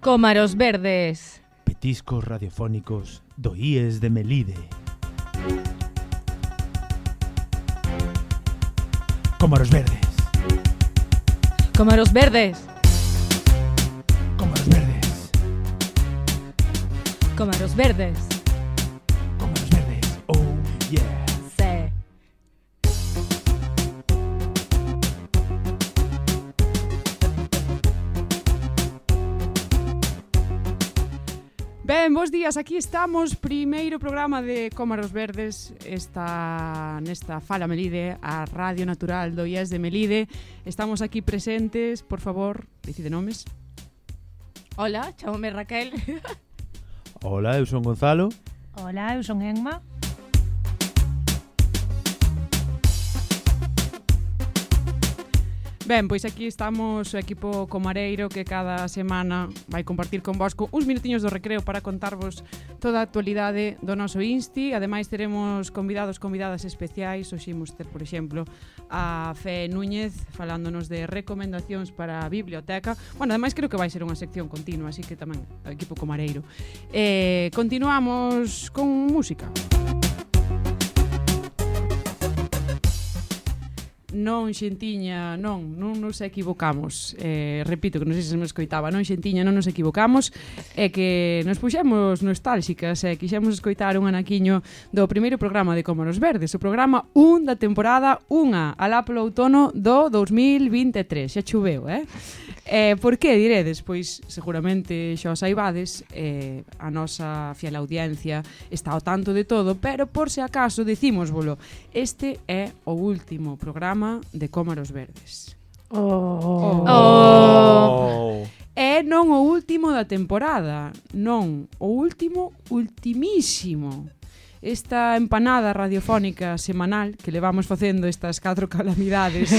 Cómaros verdes. Petiscos radiofónicos do IES de Melide. Cómaros verdes. Cómaros verdes. Cómaros verdes. Cómaros verdes. Cómaros verdes. Oh, yeah. Sí. Ben, bons días, aquí estamos, primeiro programa de Cómaros Verdes, nesta Fala Melide, a Radio Natural do IES de Melide. Estamos aquí presentes, por favor, decide nomes. Hola, chámome Raquel. Hola, eu son Gonzalo. Hola, eu son Enma. Ben, pois aquí estamos o equipo comareiro que cada semana vai compartir convosco uns minutiños do recreo para contarvos toda a actualidade do noso Insti. Ademais teremos convidadas especiais. Hoxe imos ter, por exemplo, a Fe Núñez falándonos de recomendacións para a biblioteca. Bueno, ademais creo que vai ser unha sección continua, así que tamén o equipo comareiro. Continuamos con música. Non, xentiña, non nos equivocamos. Repito, que non sei se me escoitaba. Non, xentiña, non nos equivocamos. É que nos puxemos nostálxicas e quixemos escoitar un anaquiño do primeiro programa de Cómaros Verdes, o programa 1 da temporada 1, alá polo outono do 2023. Xa choveu, por que, diredes? Pois seguramente xa o saibades, a nosa fiel audiencia está ao tanto de todo, pero por se acaso dicímosvolo, este é o último programa de Cómaros Verdes. E non o último da temporada, non, o último, ultimísimo. Esta empanada radiofónica semanal que levamos facendo estas 4 calamidades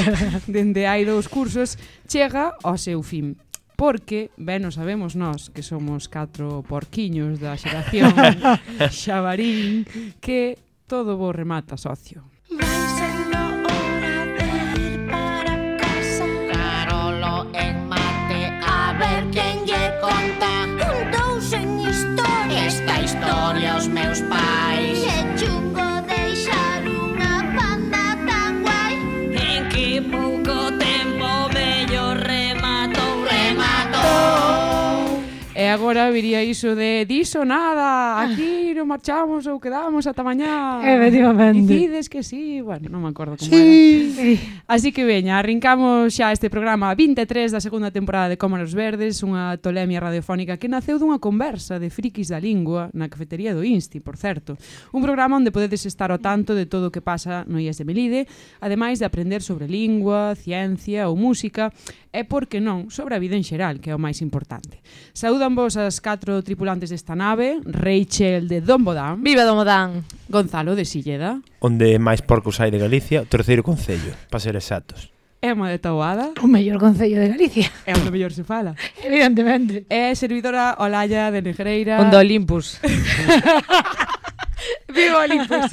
dende hai 2 cursos chega ao seu fin. Porque, ben, o sabemos nós que somos 4 porquiños da xeración xabarín, que todo vos remata, socio. Quen lle conta Contouse en historia Esta historia aos meus pais Que chungo deixar unha banda tan guai En que pouco tempo vello rematou E agora viría iso de diso nada, aquí non marchamos ou quedamos ata mañá. Efectivamente. Dicides que sí, bueno, non me acordo como era. Así que veña, arrincamos xa este programa 23 da segunda temporada de Cómaros Verdes, unha tolemia radiofónica que naceu dunha conversa de frikis da lingua na cafetería do Insti, por certo. Un programa onde podedes estar ao tanto de todo o que pasa no IES de Melide, ademais de aprender sobre lingua, ciencia ou música, e, por que non, sobre a vida en xeral, que é o máis importante. Saúdan vos as 4 tripulantes desta nave, Rachel de Dombodán. Viva Dombodán. Gonzalo de Silleda. Onde máis porcos hai de Galicia, o terceiro concello, para ser exactos. Emma de Taboada. O mellor concello de Galicia. É onde mellor se fala. Evidentemente. É servidora Olalla de Negreira. Onde Olympus. Viva Olympus.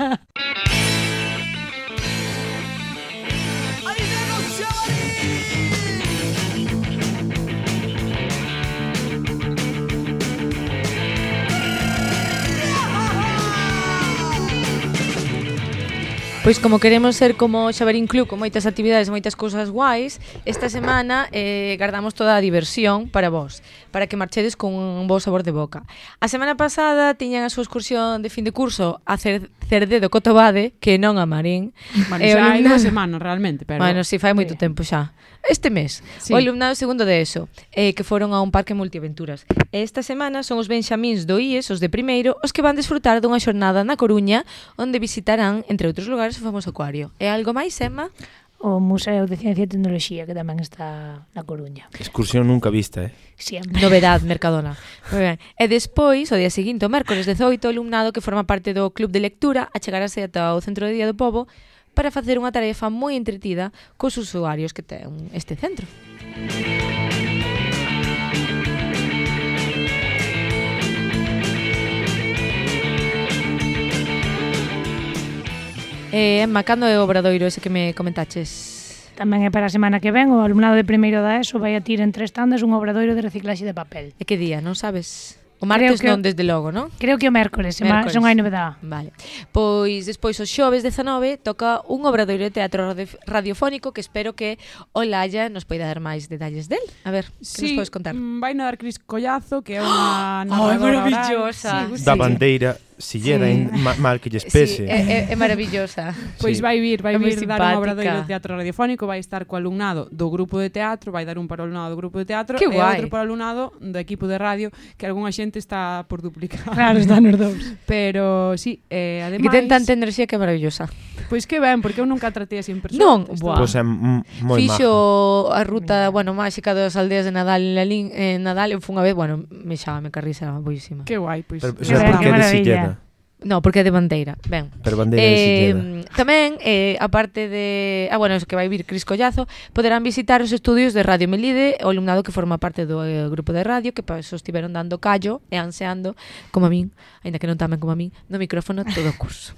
Pois como queremos ser como Xabarín Club, con moitas actividades, moitas cousas guais, esta semana guardamos toda a diversión para vos, para que marchedes con un bo sabor de boca. A semana pasada tiñan a súa excursión de fin de curso a Cerdedo Cotobade, que non a Marín. Bueno, xa hai 2 semanas realmente, pero... Bueno, si fai moito tempo xa. Este mes, sí. O alumnado segundo de ESO, que foron a un parque multiaventuras. E esta semana son os benxamíns do IES, os de primeiro, os que van desfrutar dunha xornada na Coruña, onde visitarán, entre outros lugares, o famoso acuario. E algo máis, Emma? O Museo de Ciencia e Tecnoloxía, que tamén está na Coruña. Excursión nunca vista, Siempre. Novedad, Mercadona. Moi ben. E despois, o día seguinte, o mércores 18, o alumnado que forma parte do Club de Lectura achegarase ata o Centro de Día do Pobo para facer unha tarefa moi entretida cos usuarios que ten este centro. Emma, cando é o obradoiro ese que me comentaches? Tamén é para a semana que ven, o alumnado de primeiro da ESO vai a tir en 3 tandas un obradoiro de reciclaxe de papel. E que día, non sabes? O martes non, desde logo, non? Creo que o mércores, son hai novedade. Vale. Pois despois o xoves 19 toca un obradoiro de teatro radiofónico que espero que Olaya nos poida dar máis detalles del. A ver, que nos podes contar? Vai a dar Cris Collazo, que é unha narradora maravillosa. oral. Da bandeira sillera mal que lle espese. Sí, é maravillosa. Pois vai vir dar un obradoiro de simpática. teatro radiofónico, vai estar co alumnado do grupo de teatro, vai dar un para o alumnado do grupo de teatro Que e guai. outro para o alumnado do equipo de radio, que algunha xente está por duplicar. Claro, están os dous. Pero sí, ademais Que ten tanta enerxía que é maravillosa. Pois que ben, porque eu nunca tratei así en persona. Non, Estou- buah. Pois é moi Fixo a ruta, máxica das aldeas de Nadal en Nadal, eu fun unha vez, me xábame carrisa, era boísima. Que guai, pois. Pero, Que ben, porque que é de maravilla. sillera. No, porque é de bandeira. Ben. Pero bandeira de sillera. Tamén, aparte de... eso que vai vir Cris Collazo, poderán visitar os estudios de Radio Melide, o alumnado que forma parte do grupo de radio, que estiveron dando callo e anseando, como a min, aínda que non tamen como a min, no micrófono todo o curso.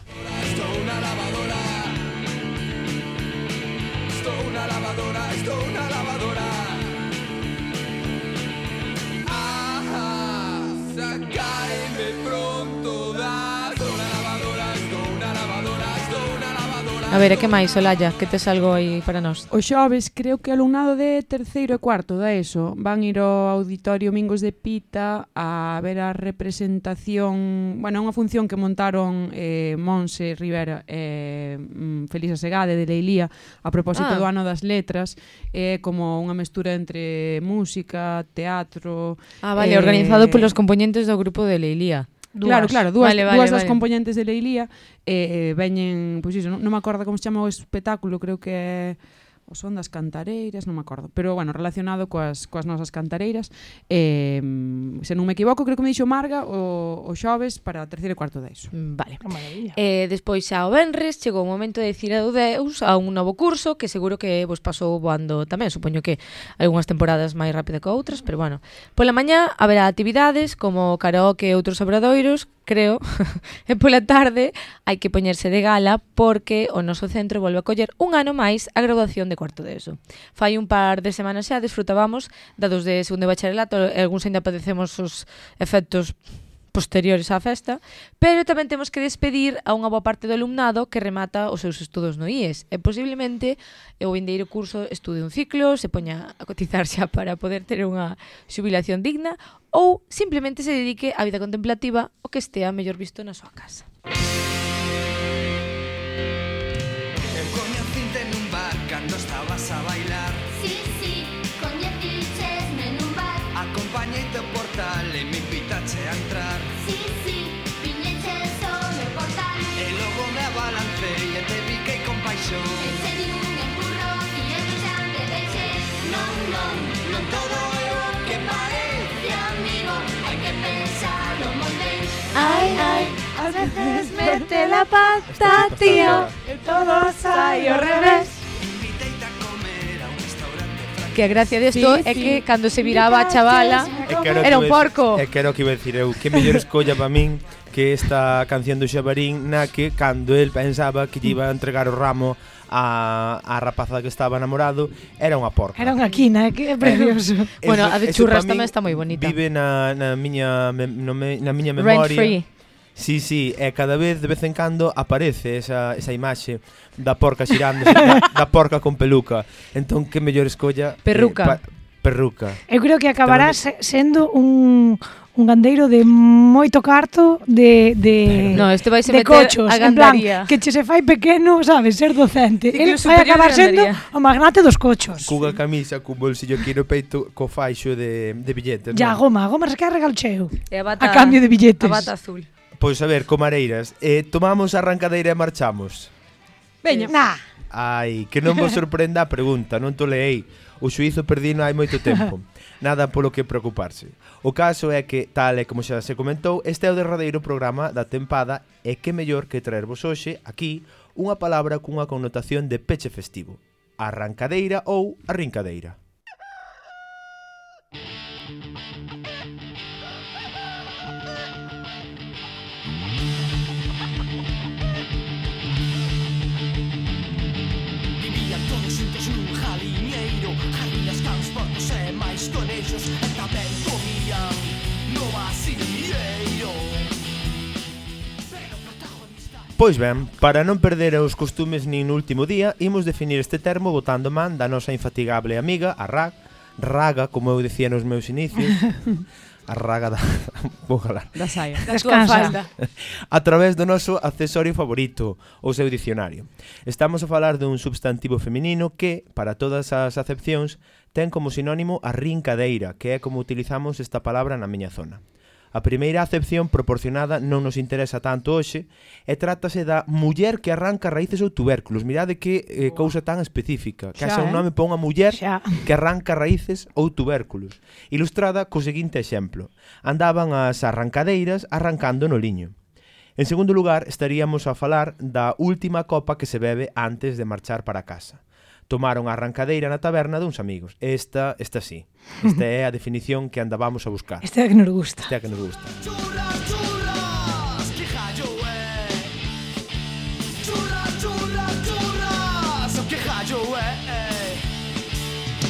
A ver, e que máis, Olaya? Que tes algo aí para nós? O xoves, creo que o alumnado de terceiro e cuarto da ESO van ir ao Auditorio Mingos de Pita a ver a representación, unha función que montaron Monse Rivera e Felisa Segade de Leilía a propósito do ano das letras, como unha mestura entre música, teatro... Vale, organizado polos componentes do grupo de Leilía. Claro, dúas das vale. componentes de Leilía veñen, pois iso, non me acordo como se chama o espetáculo, creo que é o son das cantareiras, non me acordo, pero relacionado coas nosas cantareiras, se non me equivoco, creo que me dixo Marga o xoves para terceiro e cuarto da ESO. Vale. Que maravilla. Despois xa o venres chegou o momento de decir adeus a un novo curso que seguro que vos pasou voando tamén, supoño que algunhas temporadas máis rápido que outras, pero pola mañá haberá actividades como karaoke e outros obradoiros, creo, e pola tarde hai que poñerse de gala porque o noso centro volve a coller un ano máis a graduación de cuarto de ESO. Fai un par de semanas xa desfrutábamos dados de segundo de bacharelato, e algúns ainda padecemos os efectos posteriores á festa, pero tamén temos que despedir a unha boa parte do alumnado que remata os seus estudos no IES e posiblemente o vindeiro curso estude un ciclo, se poña a cotizar xa para poder ter unha xubilación digna ou simplemente se dedique á vida contemplativa o que estea mellor visto na súa casa. Eu coñecinte nun bar cando estabas a bailar. Sí, coñecichesme nun bar. Acompañeite ao portal e me invitache a entrar. Sí, viñeches ao meu portal. E logo me abalancei e te biquei con paixón. Ese di un empurrón e eu xa te deixei. Non todo é o que parece, amigo. Hai que pensarlo moi ben. Ai, ás veces mete la pata, tío, e todo sai ao revés. Inviteite a comer a un restaurante francés. Que a gracia desto é que cando se viraba a chavala era un porco. É que era o que iba a decir eu. Que mellor escolla para min que esta canción do Xabarín na que cando el pensaba que lle iba a entregar o ramo a rapaza que estaba namorado era unha porca. Era unha quina, que é precioso. A de Eso churras pa min tamén está moi bonita. Vive na miña Rent memoria. free. Sí, e cada vez de vez en cando aparece esa imaxe da porca xirando, da porca con peluca. Entón, que mellor escolla? Perruca. Perruca. Eu creo que acabará sendo un gandeiro de moito carto de No, este vai se de meter cochos, a en plan, gandaría. que che se fai pequeno, sabes, ser docente. Ciclo El vai superior acabar de sendo gandaría. o magnate dos cochos. Cunha camisa, cun bolsillo aquí no peito, co faixo de billetes. Ya, non? goma se quer regal cheo. E a bata, A cambio de billetes. A bata azul. Pois a ver, comareiras, tomamos a arrancadeira e marchamos. Veña. Nah. Ai, que non vos sorprenda a pregunta, non to leei. O xuízo perdino hai moito tempo. Nada polo que preocuparse. O caso é que, tal e como xa se comentou, este é o derradeiro programa da tempada e que mellor que traervos hoxe, aquí, unha palabra cunha connotación de peche festivo. Arrancadeira ou arrincadeira. Vivían todos xuntos nun Pois ben, para non perder os costumes nin no último día, imos definir este termo botando man da nosa infatigable amiga, a Raga, como eu dicía nos meus inicios, a Raga da... vou galar. Da saia. Da túa falda. A través do noso accesorio favorito, o seu dicionario. Estamos a falar dun substantivo feminino que, para todas as acepcións, ten como sinónimo a rincadeira, que é como utilizamos esta palabra na miña zona. A primeira acepción proporcionada non nos interesa tanto hoxe e trátase da muller que arranca raíces ou tubérculos. Mirade que cousa tan específica. Que haxa un nome para unha muller que arranca raíces ou tubérculos. Ilustrada co seguinte exemplo. Andaban as arrancadeiras arrancando no liño. En segundo lugar, estaríamos a falar da última copa que se bebe antes de marchar para casa. Tomaron a arrancadeira na taberna duns amigos. Esta sí. Esta é a definición que andábamos a buscar. Esta é a que nos gusta. Esta é a que nos gusta. Churras, churras, que jallo é. Churras, churras, churras, o que jallo é.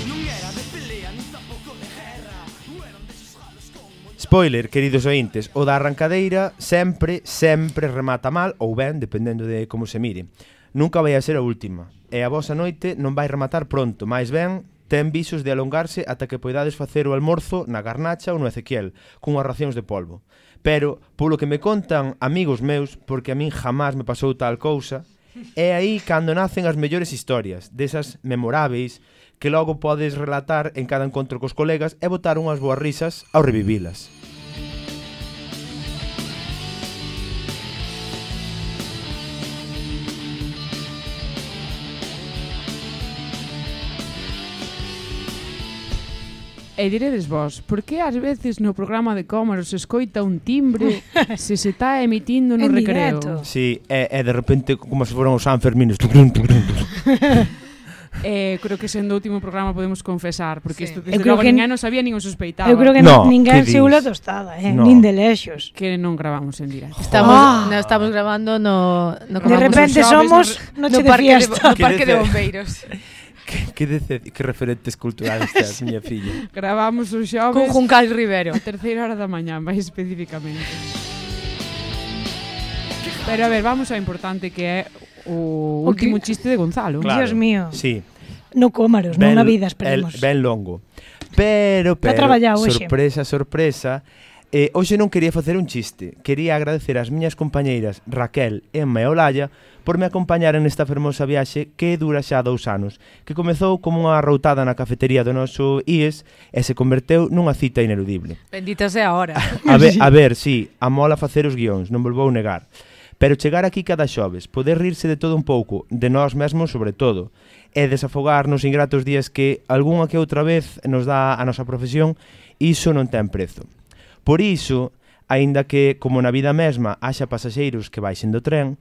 Non era de pelea, nin tampouco de guerra. Eran deses galos con moita... Spoiler, queridos ointes, o da arrancadeira sempre remata mal ou ben, dependendo de como se mire. Nunca vai a ser a última. E a vosa noite non vai rematar pronto, máis ben ten visos de alongarse ata que poidades facer o almorzo na Garnacha ou no Ezequiel, cunhas racións de polvo. Pero, polo que me contan amigos meus, porque a min jamás me pasou tal cousa, é aí cando nacen as mellores historias, desas memoráveis, que logo podes relatar en cada encontro cos colegas e botar unhas boas risas ao revivilas. E diredes vos, por que ás veces no programa de Cómaro se escoita un timbre se está emitindo no En recreo? directo. Sí, é de repente como se foran os Sanfermines. Creo que sendo o último programa podemos confesar, porque isto desde creo logo que ninguén non sabía, nin o suspeitaba. Eu creo que No, ninguén que se ula dis? tostada, No. nin de lexos. Que non gravamos en directo. Estamos grabando no De como repente os xoves, somos noche de fiesta. no parque de Que bombeiros. Que referentes culturales teas, miña filla. Gravamos os xoves Con Juncal Rivero. a terceira hora da mañá, máis especificamente. Pero a ver, vamos ao importante que é o último chiste de Gonzalo. Claro. Dios mío. Sí. No Cómaros, non na vida, esperemos. Ben longo. Pero, traballado hoxe. sorpresa, hoxe non quería facer un chiste. Quería agradecer ás miñas compañeiras Raquel, Emma e Olalla por me acompañaren nesta fermosa viaxe que dura xa 2 anos, que comezou como unha routada na cafetería do noso IES e se converteu nunha cita ineludible. Bendita sea ahora. A ver, sí, amola facer os guións, non volvou negar. Pero chegar aquí cada xoves, poder rirse de todo un pouco, de nós mesmos sobre todo, e desafogar nos ingratos días que algunha que outra vez nos dá a nosa profesión, iso non ten prezo. Por iso, aínda que, como na vida mesma, haxa pasaxeiros que baixen do tren,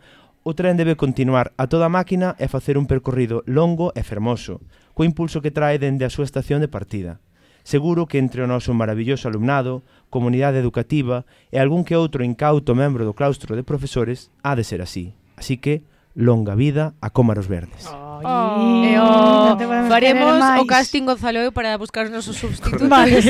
o tren debe continuar a toda máquina e facer un percorrido longo e fermoso, co impulso que trae dende a súa estación de partida. Seguro que entre o noso maravilloso alumnado, comunidade educativa e algún que outro incauto membro do claustro de profesores, ha de ser así. Así que, longa vida a Cómaros Verdes. Faremos o casting Gonzalo para buscar os nosos substitutos. Vale.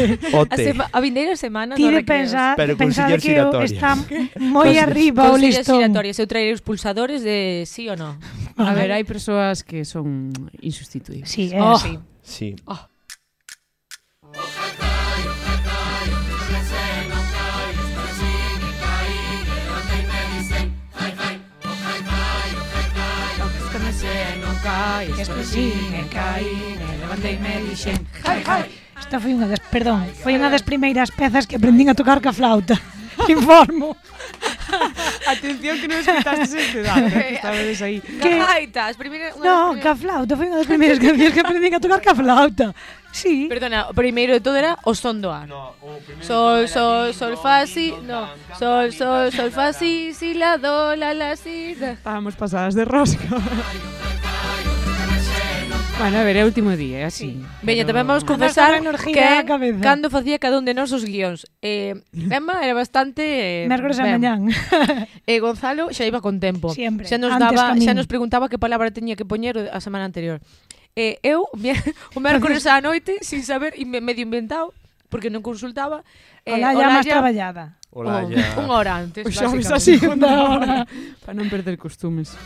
A vindeira semana Ti no de recreos. Pero con pensar siller que eu xiratoria. está moi arriba o Con sillas listón. giratorias. Eu traerei os pulsadores de sí ou no. A ver, hai persoas que son insustituibles. Sí, Sí. Sí. Esta foi unha das, perdón, foi unha das primeiras pezas que aprendín a tocar ca flauta. Informo. Atención que non escutastes este dato, que estabades aí. Que- Gaita, as primeiras... No, ca flauta, foi unha das primeiras cancións que aprendín a tocar ca flauta. Sí. Perdona, o primeiro de todo era o son do ar. Sol, sol, sol, fa, si, no. Sol, sol, sol, fa, si, la, do, la, si, da. Estábamos pasadas de rosca. Bueno, a ver, é o último día, é así. Veña, tamén vamos Andas confesar con energía que na cabeza. cando facía cada un de nós os guións. Emma era bastante... Mércores a ben. mañán. E Gonzalo xa iba con tempo. Siempre, Xa nos antes daba, ca min. xa nos preguntaba que palabra teña que poñer a semana anterior. Eu, o mércores á noite, sin saber, medio inventado, porque non consultaba. Olalla máis traballada. Olalla. Unha hora antes, O xoves basicamente. así, unha hora. Para non perder costumes.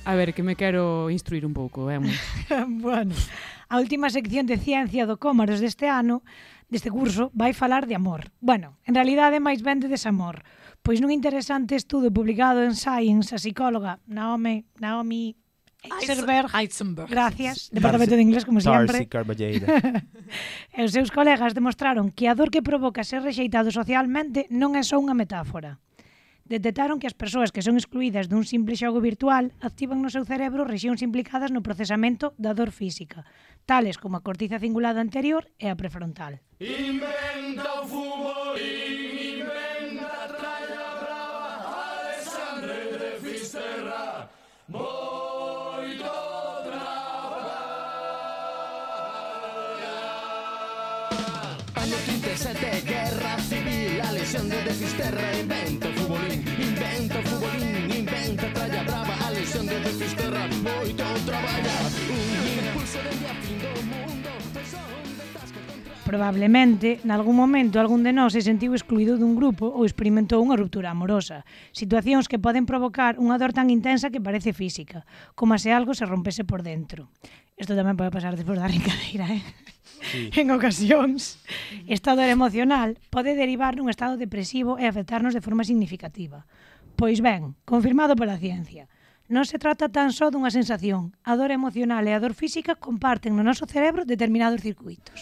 A ver, que me quero instruir un pouco, Bueno, a última sección de ciencia do Cómaros deste ano, deste curso, vai falar de amor. Bueno, en realidade máis ben de desamor, pois nun interesante estudo publicado en Science, a psicóloga Naomi Eisenberg, gracias, Departamento de Inglés, como Darcy sempre, Carballeira. e os seus colegas demostraron que a dor que provoca ser rexeitado socialmente non é só unha metáfora. Detectaron que as persoas que son excluídas dun simple xogo virtual activan no seu cerebro rexións implicadas no procesamento da dor física, tales como a cortiza cingulada anterior e a prefrontal. Inventa o futbolín, inventa a tralla brava, Alexandre de Fisterra, moito traballar. Año 37, guerra civil, a lesión de Fisterra, inventa o futbolín, inventa a tralla brava, a lesión de Fisterra, moito traballar. Un impulso de a fin do mundo, son de tasca contra... Probablemente, nalgún momento, algún de nós se sentiu excluído dun grupo ou experimentou unha ruptura amorosa. Situacións que poden provocar unha dor tan intensa que parece física, como se algo se rompese por dentro. Isto tamén pode pasar despois da brincadeira, Sí. En ocasións, esta dor emocional pode derivar nun estado depresivo e afectarnos de forma significativa. Pois ben, confirmado pola ciencia, non se trata tan só dunha sensación. A dor emocional e a dor física comparten no noso cerebro determinados circuitos.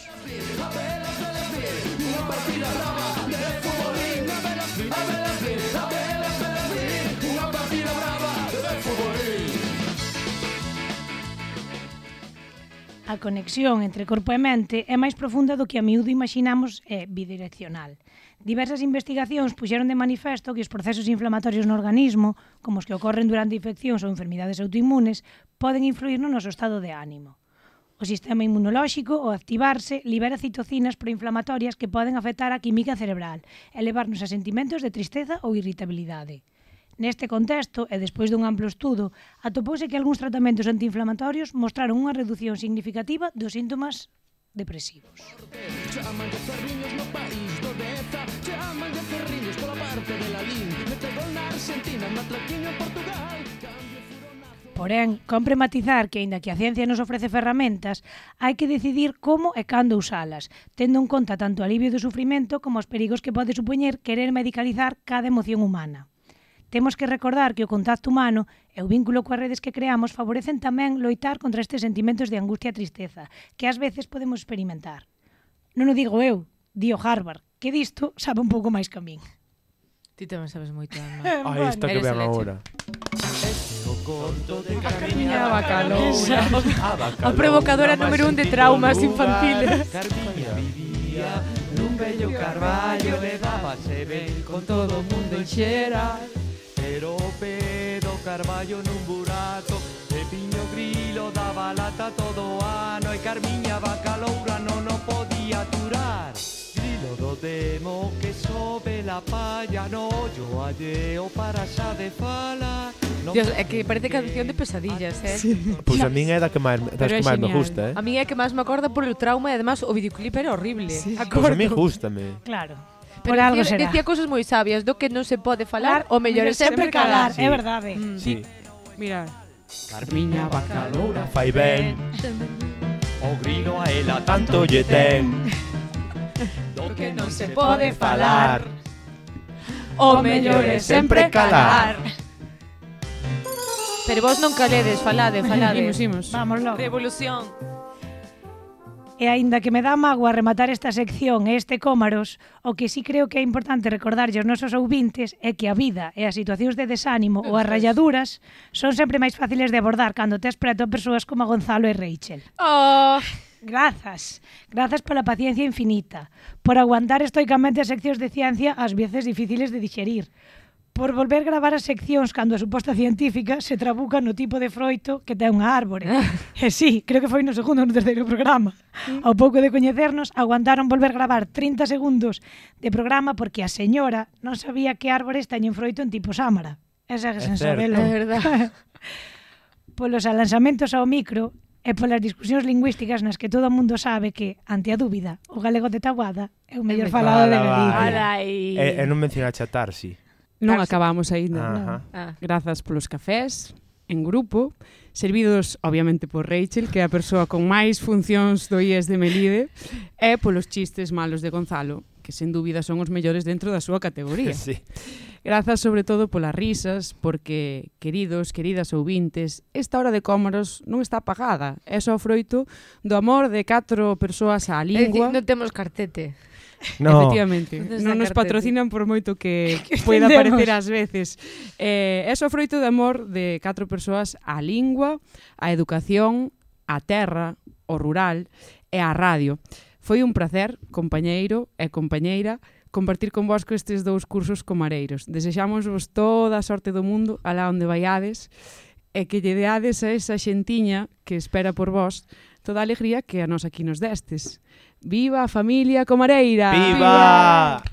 A conexión entre corpo e mente é máis profunda do que a miúdo imaginamos e bidireccional. Diversas investigacións puxeron de manifesto que os procesos inflamatorios no organismo, como os que ocorren durante infeccións ou enfermidades autoinmunes, poden influir no noso estado de ánimo. O sistema inmunolóxico, ao activarse, libera citocinas proinflamatorias que poden afectar a química cerebral e levarnos a sentimentos de tristeza ou irritabilidade. Neste contexto, e despois dun amplo estudo, atopouse que algúns tratamentos antiinflamatorios mostraron unha reducción significativa dos síntomas depresivos. Chamanlle ferriños no país do Deza, chamanlle ferriños pola parte de la Lin, mete gol na Argentina, matraquiño en Portugal, cambio furonazo. Porén, compre matizar que, aínda que a ciencia nos ofrece ferramentas, hai que decidir como e cando usalas, tendo en conta tanto o alivio do sufrimento como os perigos que pode supoñer querer medicalizar cada emoción humana. Temos que recordar que o contacto humano e o vínculo coas redes que creamos favorecen tamén loitar contra estes sentimentos de angustia e tristeza que ás veces podemos experimentar. Non o digo eu, dio Harvard, que disto sabe un pouco máis que a min. Ti tamén sabes moito, Alma. Ai, esta que Eres ven a leche. agora. O conto de Carmiña Bacaloura. A provocadora número 1 de traumas infantiles. Carmiña vivía nun bello carballo, levábase ben con todo o mundo en xera. Pero o pedo carballo nun buraco, e piño grilo daba lata todo o ano, e Carmiña Bacaloura non o podía aturar. Grilo do demo que sobe la palla no ollo alleo para xa de falar. Dios, é que parece canción de pesadillas, Pois a min é das que máis Pero é me genial. gusta, A mí é que máis me acorda por o trauma e además o videoclip era horrible. Pois a min gústame. Claro, Pero por algo decía, será. decía cosas moi sabias do que non se pode falar, o mellor é sempre calar. Sí. É verdade. Sí. Mira, Carmiña Bacaloura. Fai ben, o grilo a ela tanto lle ten. Do que non se pode falar, o mellor é sempre calar. Pero vos non caledes, falade. Imos. Vamos logo. Revolución. E aínda que me dá mágoa rematar esta sección e este Cómaros, o que sí creo que é importante recordarlle aos nosos ouvintes é que a vida e as situacións de desánimo ou as ralladuras son sempre máis fáciles de abordar cando tes preto a persoas como Gonzalo e Rachel. Oh, Grazas pola paciencia infinita, por aguantar estoicamente as seccións de ciencia ás veces difíciles de digerir, por volver gravar as seccións cando a suposta científica se trabuca no tipo de froito que ten unha árbore. E sí, creo que foi no segundo ou no terceiro programa. Ao pouco de coñecernos, aguantaron volver gravar 30 segundos de programa porque a señora non sabía que árbores teñen froito en tipo sámara. Esa é sen certo. sabelo. é verdade. Polos alanzamentos ao micro e polas discusións lingüísticas nas que todo o mundo sabe que, ante a dúbida, o galego de Taboada é o mellor falado de Galicia. E non mencionaxe a Tarsi. Non acabamos aínda. Ajá. Grazas polos cafés, en grupo, servidos, obviamente, por Rachel, que é a persoa con máis funcións do IES de Melide, e polos chistes malos de Gonzalo, que sen dúbida son os mellores dentro da súa categoría. Sí. Grazas sobre todo polas risas, porque, queridos, queridas ouvintes, esta hora de cómoros non está pagada. É só froito do amor de 4 persoas á lingua. Non temos cartete. No. Efectivamente, Non non nos está patrocinan por moito que Que poida entendemos. parecer ás veces. É só froito de amor de 4 persoas á lingua, á educación, á terra, ao rural e á radio. Foi un placer, compañeiro e compañeira, compartir con vos estes 2 cursos comareiros. Desexámosvos toda a sorte do mundo alá onde vaiades e que lle deades a esa xentiña que espera por vos toda a alegría que a nos aquí nos destes. Viva a familia comareira! Viva!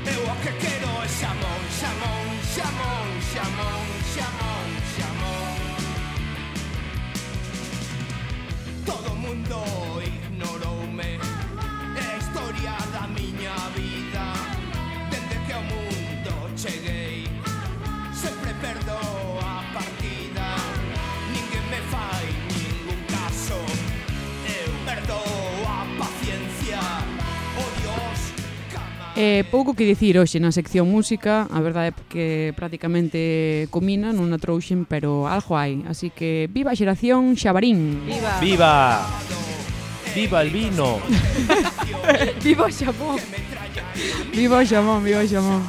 Eu o que quero é xamón, xamón, xamón, xamón, xamón, xamón. Todo o mundo ignoroume, é a historia da miña vida. Dende que ao mundo cheguei, sempre perdo a partida. Ninguén me fai ningún caso, eu perdo a paciencia. Oh Dios, Pouco que dicir hoxe na sección música, a verdade é que prácticamente comina, non a trouxen, pero algo hai. Así que viva a xeración Xabarín! Viva! Viva! Viva el vino! Viva o xamón! Viva o xamón, viva o xamón!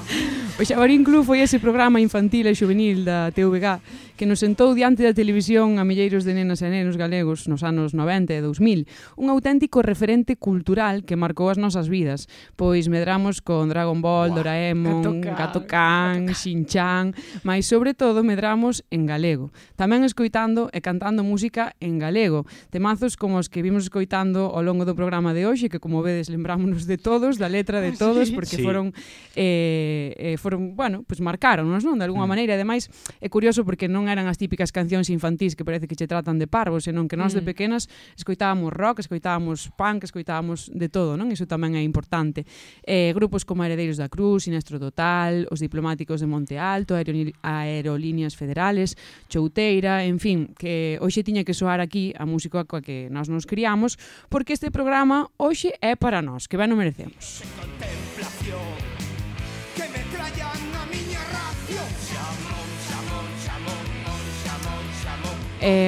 O Xabarín Club foi ese programa infantil e juvenil da TVG que nos sentou diante da televisión a milleiros de nenas e nenos galegos nos anos 90 e 2000. Un auténtico referente cultural que marcou as nosas vidas, pois medramos con Dragon Ball, Doraemon, Gato Can, Shin-Chan, mas sobre todo medramos en galego. Tamén escoitando e cantando música en galego. Temazos como os que vimos escoitando ao longo do programa de hoxe, que como vedes lembrámonos de todos, da letra de todos, porque Sí. foron, bueno, pues marcaronnos, non? De alguna maneira. Ademais, é curioso porque non eran as típicas cancións infantís que parece que che tratan de parvos, senón que nós de pequenas escoitábamos rock, escoitábamos punk, escoitábamos de todo, non? Iso tamén é importante. Grupos como Heredeiros da Cruz, Sinestro Total, Os Diplomáticos de Monte Alto, Aerolíneas Federales, Chouteira, en fin, que hoxe tiña que soar aquí a música coa que nós nos criamos, porque este programa hoxe é para nós, que ben o merecemos. contemplación que me trayan a miña ración. Xamón, xamón, xamón, xamón, xamón.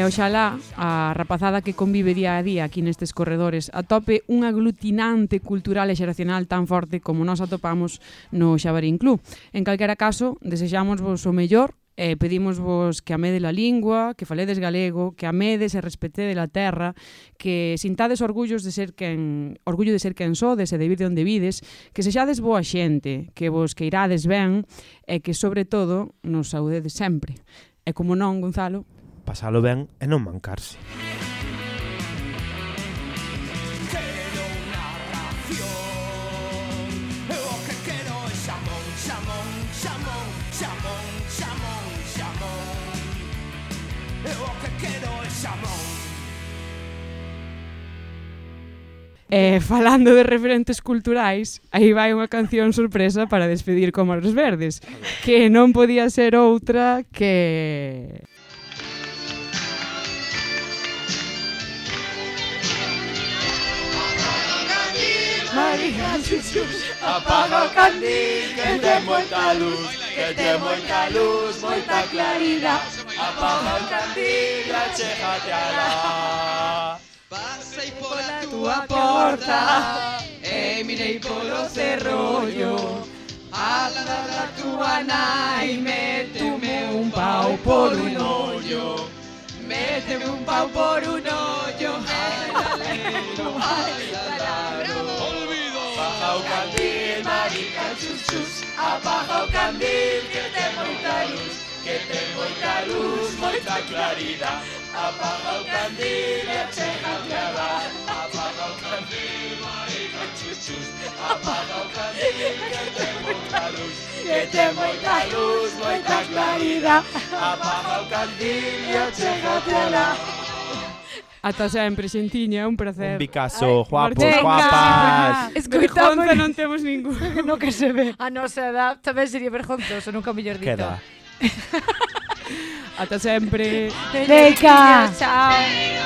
Oxalá a rapazada que convive día a día aquí nestes corredores atope un aglutinante cultural e xeracional tan forte como nós atopamos no Xabarín Club. En calquera caso, desexámosvos o mellor e pedímosvos que amedes a lingua, que faledes galego, que amedes e respetedes a terra, que sintades orgullo de ser quen sodes e de vir de onde vides, que sexades boa xente, que vos queirades ben e que, sobre todo, nos saudedes sempre. E como non, Gonzalo, Pasalo ben e non mancarse. Quero unha ración. Eu o que quero é xamón, xamón, xamón, xamón, xamón, xamón. Eu o que quero é xamón. Falando de referentes culturais, aí vai unha canción sorpresa para despedir Cómoros Verdes, que non podía ser outra que... Apaga o candil, que ten moita luz, que ten moita luz, moita claridade. Apaga o candil, achégate alá. Pasei pola túa porta e mirei polo cerrollo. Ala da túa nai, méteme un pau por un ollo. Méteme un pau por un ollo. Apaga o candil, marica, chus, chus. Apaga o candil, que ten moita luz, que ten moita luz, moita claridade. Apaga o candil, achégate alá. Apaga o candil, marica, chus, chus. Apaga o candil, que ten moita luz, que ten moita luz, moita claridade. Apaga o candillo, Chégate alá. Ata sempre, xentiña, é un placer. Un Picasso, guapos, Venga. guapas. Escoitamos Vergonza non temos ningún. No que se ve. a nosa edad tamén sería vergonzoso, nunca mellor dito. Queda. Ata sempre. Veca. Chao.